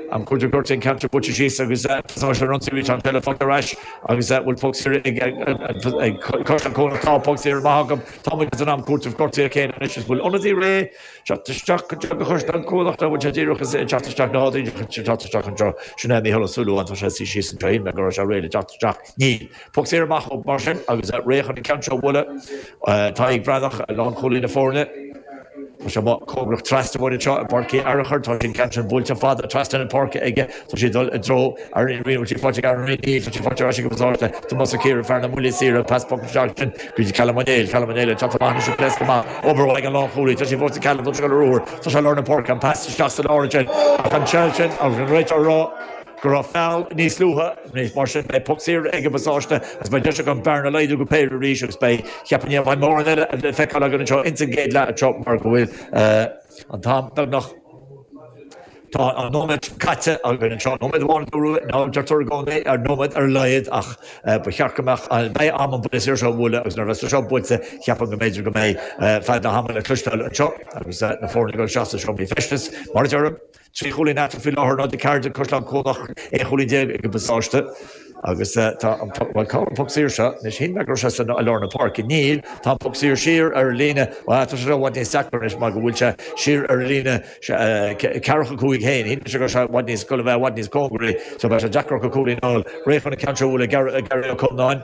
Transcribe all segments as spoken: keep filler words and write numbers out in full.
Am cúitimh gortaithe an ceann seo buailte síos agus pasáiste ar ionsaí arís, an peil faighte ar ais agus bhfuil poc saor ag Caisleán Cuanach. Tá poc saor maith acu. Tá muid san am cúitimh gortaithe céanna anois is bhfuil ionadaí réidh teacht isteach go dtí Caisleán Cuanach nó bhfuil sé díreach ag teacht isteach ná díreach ag teacht isteach anseo. Sin é Mícheál Ó Súilleabháin, tá sé suí síos anseo, shíl mé go raibh sé réidh le teacht isteach. Níl. Poc saor amach ó mar sin agus réidh chun an ceann seo a bhualadh. Tadhg Breathnach, lánchúlaí na foirne. Tá sé amuigh cóngarach trasna uainn anseo i bPáirc Uí Fhearchair. Tá an ceann sin buailte fada trasna na páirce aige. Tá sé ag dul i dtreo Aaron Ní Bhfuil sí faighte ag Aaron Níl, tá sí faighte ar ais ag an bpasáiste. Tomás Ó Ciaraidh, fear na mbuillí saora, pas poc isteach sin go dtí Callum Ó Néill. Callum Ó Néill ag teacht amach anois ag pléascadh amach. Obair mhaith ag an lánchúlaí. Tá sí fós ag Callum, tá sé ag dul ar ruathar. Tá sé i lár na páirce, an pas isteach sa lár ansin. Ach an tseil sin agus an réiteoir ag rá go raibh feall níos luaithe, mar sin beidh poc saor ag an bpasáiste agus beidh deis acu an bearna a laghdú go péire arís agus beidh, cheapfainn, ní bheidh mórán eile le feiceáil againn anseo ins an gcéad leath anseo mar go bhfuil an t-am beagnach, tá an nóiméad caite againn anseo, nóiméad amháin a dúradh, nó deirtear i gcónaí ar nóiméad ar a laghad ach ba cheart go mbeadh, beidh am an buille saor seo a bhualadh agus nuair a bheas sé seo buailte cheapfainn go mb'fhéidir go mbeidh fead na hama le cloisteáil anseo agus na foirne ag dul isteach sa seomraí feistis mar a deirim. Trí chúilín eatarthu faoi láthair, náid a ceathair déag Caisleán Cuanach, aon chúilín déag ag an bpasáiste agus tá an poc, bhuel cá bhfuil an poc saor seo? Anois shíl mé go raibh sé san, i lár na páirce. Níl, tá an poc saor siar ar an líne, bhuel tá sé seo i bhfad níos deacra anois mar go bhfuil sé siar ar an líne ceathracha cúig féin. Shíl mise go raibh sé i bhfad níos, dul a bheith i bhfad níos cóngaraí so beidh sé deacair acu cúilín a fháil. Réidh chun an ceann seo a bhualadh Gary, Gary Ó Conláin,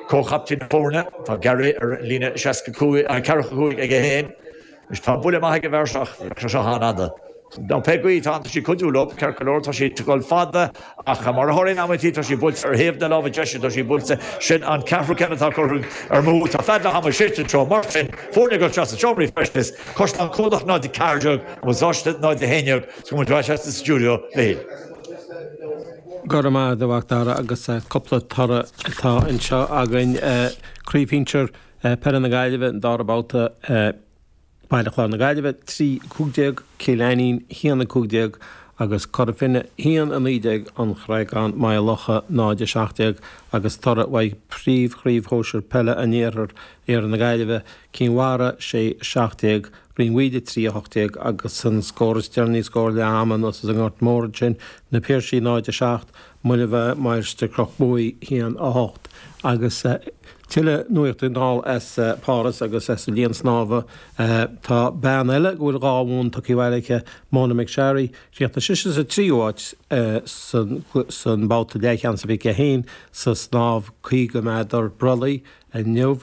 comhchaptaen na foirne. Tá Gary ar an líne seasca cúig, ceathracha cúig aige féin. Anois tá buille maith ag an bhfear seo ach bheadh sé seo an-fhada. Nó pé caoi, tá sí ag cuidiú leo, ceart go leor, tá sí ag dul fada ach mar a tharlaíonn amantaí tá sí buailte ar thaobh na láimhe deise, tá sí buailte, sin an ceathrú ceann atá curtha amú, tá fead na hama séidte anseo, mar sin, foirne ag dul isteach sa seomraí feistis, Caisleán Cuanach náid a ceathair déag, An Pasáiste náid a haon déag, is go mbeidh muid ar ais sa stiúideo, Mhichíl. Go raibh maith agat a Mhac Dara agus cúpla toradh atá anseo againn. Craobh Shinsir Peile na Gaillimhe, an dara babhta. Baile Chláir na Gaillimhe, trí, a cúig déag, Cill Ainnín, a haon, a cúig déag, agus Cora Finne, a haon, a naoi déag, An Chreagán, Maigh Locha, náid, a seacht déag, agus toradh uaidh Príomh-Chraobh Shóisir Peile an Iarthair, Iarthar na Gaillimhe, Cinn Mhara, sé, a seacht déag, Rinn Mhaoile, trí, a hocht déag, agus an scór is deireanaí, scór leath ama anuas as an nGort Mór ansin, Na Piarsaigh, náid, a seacht, Muine Mheá, Mainistir Chnoc Buaidh, a haon, a hocht, agus. Tuilleadh nuachta anall as Páras agus as an linn snámha. Tá bean eile go bhfuil dhá bhonn tugtha abhaile aici, Mona McSharry. Chríochnaigh sise sa tríú háit san mbabhta leathcheannais a bhí aici féin sa snámh caoga méadar brollaigh inniu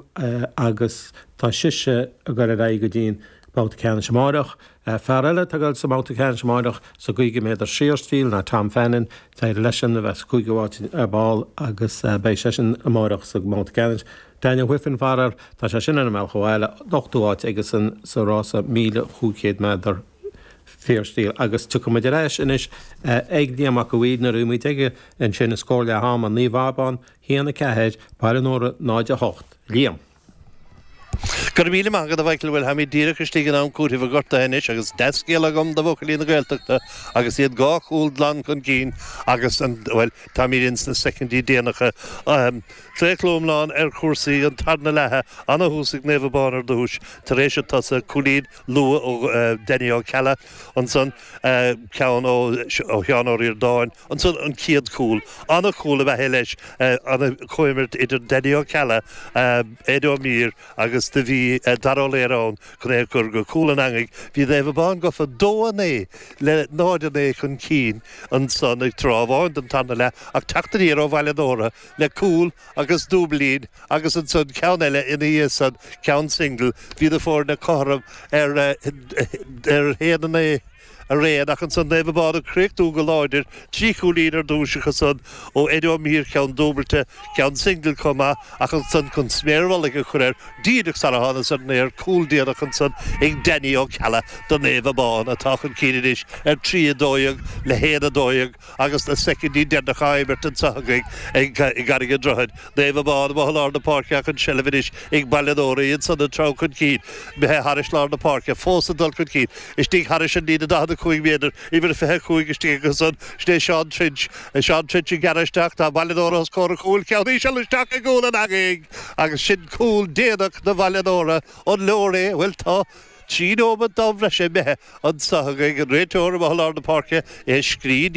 agus tá sise ag dul ar aghaidh go dtí an babhta ceannais amáireach. Fear eile atá ag dul sa mbabhta ceannais amáireach sa gcaoga méadar saorstíl ná Tom Fannin. D'éirigh leisean a bheith sa cúigiú háit ar ball agus beidh seisean amáireach sa mbabhta ceannais. Daniel Wiffen, faraor, tá sé sin ar an mbealach abhaile, ochtú háit aigesan sa rása míle chúig chéad méadar fíorstíl. Agus tiocfaidh muid ar ais anois ag Liam Mac a' Bhaoid nuair a bhí muid aige ansin, scór leath ama, Naomh Abán, a haon a ceathair, Baile an Óra, náid a hocht. Liam. Go raibh míle maith agat a Mhichael, bhuel táimid díreach istigh in am cúitimh an ghortaithe anois agus dea-scéal agam do bhuachaillí na Gaeltachta agus iad dhá chúl glan chun cinn agus an, bhuel, táimid ins na soicindí déanacha. Claochló iomlán ar chúrsaí an tarna leath, ana-thús ag Naomh Abán ar dtús tar éis an tsosa, cúilín luath ó Danny Ó Ceallaigh ansan, ceann ó Sheán Ó Ríordáin ansan an chéad chúl. Ana-chúl ab ea é leis, ana-chomhimirt idir Danny Ó Ceallaigh, Ed Ó Mír agus do bhí Dara Ó Laoire ann chun é a chur go cúl an eangaigh. Bhí Naomh Abán gafa dó a naoi le náid a naoi chun cinn ansan ag tráth amháin den tarna leath ach teacht aniar ó Bhaile an Óra le cúl agus dúiblín agus ansan ceann eile ina dhiaidh san, ceann single. Bhí na foirne cothrom ar ar haon a naoi araon ach ansan Naomh Abán ag críochnú go láidir, trí chúilín ar dtús acusan ó Eddie Ó Mír, ceann dúbailte, ceann single chomh maith ach ansan chun sméar mhullaigh a chur air, díreach sara thánas ar an aer, cúl déanach ansan ag Danny Ó Ceallaigh do Naomh Abán atá chun cinn anois ar trí a dó dhéag le haon a dó dhéag. Agus na soicindí deireanacha á imirt anseo againn i gCarraig an Droichid. Naomh Abán amuigh i lár na páirce ach an tseilbh anois ag Baile an Óra, iad san ag treabhadh chun cinn, imithe thairis lár na páirce, fós ag dul chun cinn, istigh thairis an líne daichead a cúig méadar, uimhir a fiche a cúig istigh acusan, sin é Seán Trench, Seán Trench ag gearradh isteach, tá Baile an Óra os comhair an chúil, ceann íseal isteach i gcúl an eangaigh agus sin cúl déanach do Bhaile an Óra, an leor é? Bhuel tá. Trí nóiméad d'am bhreise imithe anseo againn, an réiteoir amuigh i lár na páirce é a scrín.